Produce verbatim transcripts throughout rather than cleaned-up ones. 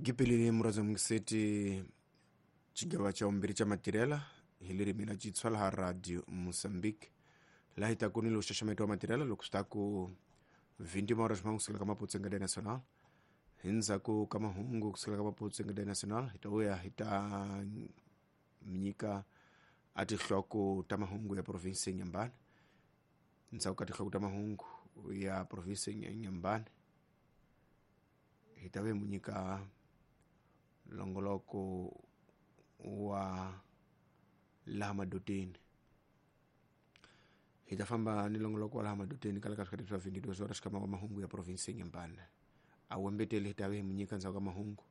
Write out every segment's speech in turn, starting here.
Gipelile muraza mungiseti xigava xa vumbirhi xa matirhela hi ririmi ra Xitsonga laha Radio Mozambique laha hi taku ni lowu xaxameto wa matirhela loko swi ta ku vinti horas mahungu kusukela ka Maputo Ngade Nacional. Hi ndzhaku ka mahungu kusukela ka Maputo Ngade Nacional hi ta vuya hi ta nyika a tinhloko ta mahungu ya province ya Inhambane. Ndzhaku ka tinhloko ta mahungu ya province ya Inhambane hi ta ve mu nyika longoloko wa laha madoteni. Hi ta famba ni longoloko wa laha madoteni kala ka swikati swa vinti-two horas kama wa mahungu ya province ya Inhambane. A wembeteli hi ta ve hi mu nyika ndzhaku ka mahungu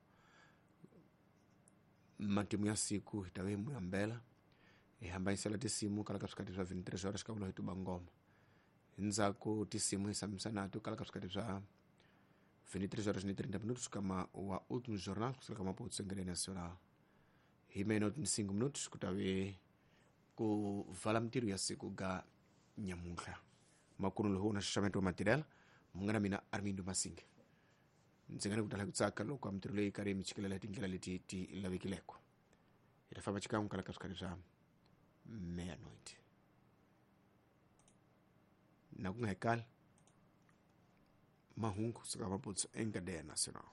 matimu ya siku hi ta ve hi mu yambela hi hambanyisela tinsimu kala ka swikati swa vinti-three horas ka vula hi tuba ngoma. Hi ndzhaku tinsimu hi sambisa nato kala ka swikati swa vinti-três horas e trinta minutos kama wa último jornal kusuka ka Maputo Ngade Nacional. Hi meia-noite e cinco minutos ku ta ve ku vala mintirho ya siku ga nyamuntlha. Makuno lowu na xaxameto wa matirhela munghana mina Armindo Masinga. Ndzi nga ni ku tala ku tsaka loko mintirho leyi karhi mi chikelela hi tindlela leti ti lavekileko. Hi ta famba xikan'we kala ka swikati swa meia-noite. Na ku nga hekali mahungu kusuka Maputo Ngade Nacional.